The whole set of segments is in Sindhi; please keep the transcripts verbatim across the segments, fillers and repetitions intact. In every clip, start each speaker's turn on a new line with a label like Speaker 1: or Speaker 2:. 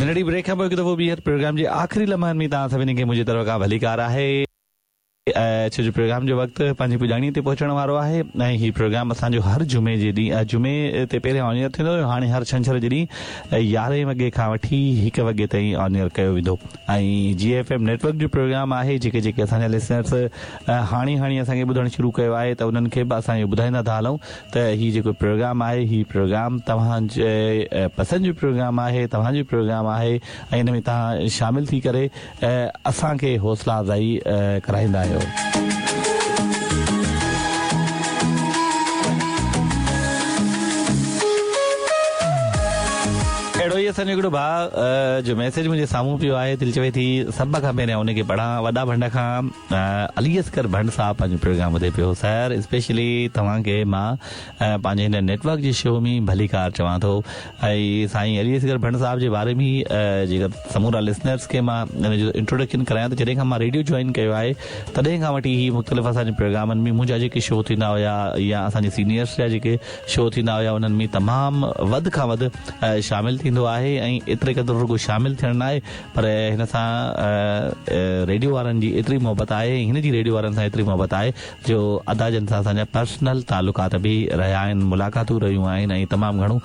Speaker 1: ننڍڙي بريڪ کان پوءِ هڪ دفعو ٻيهر پروگرام جي آخري لمحن ۾ توهان سڀني کي منهنجي طرف کان ڀليڪار آهي. ڇو جو پروگرام جو وقت پنهنجي پڄاڻيءَ تي پهچڻ وارو آهي ۽ هي پروگرام اسان جو هر جمعي جي ڏينهن جمعي تي پهريان آن ايئر ٿيندو هيو، هاڻي هر ڇنڇر جي ڏينهن يارهين وڳي کان وٺي هڪ وڳي تائين آن ايئر ڪيو ويندو ۽ جي ايف ايم نيٽ ورڪ جو پروگرام آهي. جيڪي جيڪي اسان جا لسنرس هاڻي هاڻي اسان کي ٻڌڻ شروع ڪيو آهي ته انهن کي به اسان اهو ٻڌائيندا ٿا هلون ته هي جيڪو پروگرام آهي هي پروگرام توهان جي پسند جو پروگرام آهي، توهان جو پروگرام آهي ۽ ان ۾ توهان شامل ٿي ڪري اسان کي حوصلا افزائي ڪرائيندا آهيو. اهڙو ئي اسان جو هڪڙو ڀاءُ جو ميسيج منهنجي سامهون پيو آهي، دل چوي ٿي سڀ کان پهريان ان کي پڙهان. وڏا ڀنڊ کان علي اصغر ڀنڊ صاحب پنهنجو پروگرام ٻڌي پيو. سر اسپيشلي توهان کي مان پنهنجي هن نيٽ ورڪ جي شو ۾ ڀليڪار چوان ٿو ۽ سائين علي اصغر ڀنڊ صاحب جي باري ۾ جيڪا سمورا لسنرس کي مان ان جو انٽروڊڪشن ڪرايان ته جڏهن کان مان ريڊيو جوائن ڪيو آهي تڏهن کان وٺي هي مختلف اسان جي پروگرامن ۾ منهنجا جيڪي شو ٿيندا هئا يا اسان جي سينيئرس جا جيڪي شو ٿيندا هئا انهن ۾ تمام وڌ کان وڌ شامل ٿيندو آهي ۽ ايتري قدر رڳو شامل ٿيڻ نه آهي پر هن سان ريڊيو وارن جي ايتري محبت آهي ۽ هن جي ريڊيو وارن سان ايتري محبت آهي جو ادا جن سان اسان جا پرسنل تعلقات به رهيا آهن، ملاقاتون رهيون آهن ۽ تمام گهڻو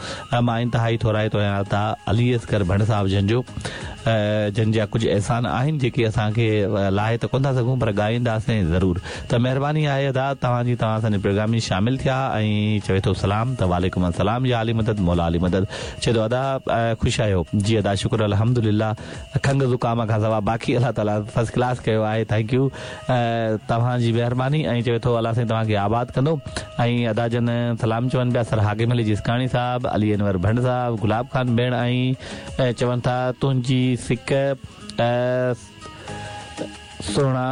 Speaker 1: مان انتهائي ٿورائتو آهيان ادا علي اصغر ڀنڊ صاحب جن جو، جن جا ڪجهه احسان آهن جيڪي اسان کي لاهي ته ڪونه ٿا سگهون پر ڳائينداسين ضرور. ته مهرباني آهي ادا توهان جي، توهان اسان جي پروگرام ۾ شامل ٿيا ۽ چوي ٿو سلام ته وعليڪم السلام يا علي مدد مولا علي مدد. چئي ٿو ادا خوش آهيو؟ جي ادا شڪر الحمدلله، کنگهه زڪام کان سواءِ باقي الله تعاليٰ فرسٽ ڪلاس ڪيو آهي، thank you توهان جي مهرباني. ۽ چوي ٿو الله سائين توهان کي آباد ڪندو. ۽ ادا جن سلام چون پيا سر حاڪم علي جسڪاڻي صاحب، علي انور ڀنڊ صاحب، گلاب خان ڀيڻ ۽ چون ٿا تنهنجي سڪ سهڻا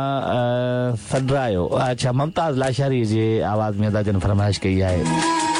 Speaker 1: سڏرايو. اڇا ممتاز لاشاري جي آواز ۾ ادا جن فرمائش ڪئي آهي.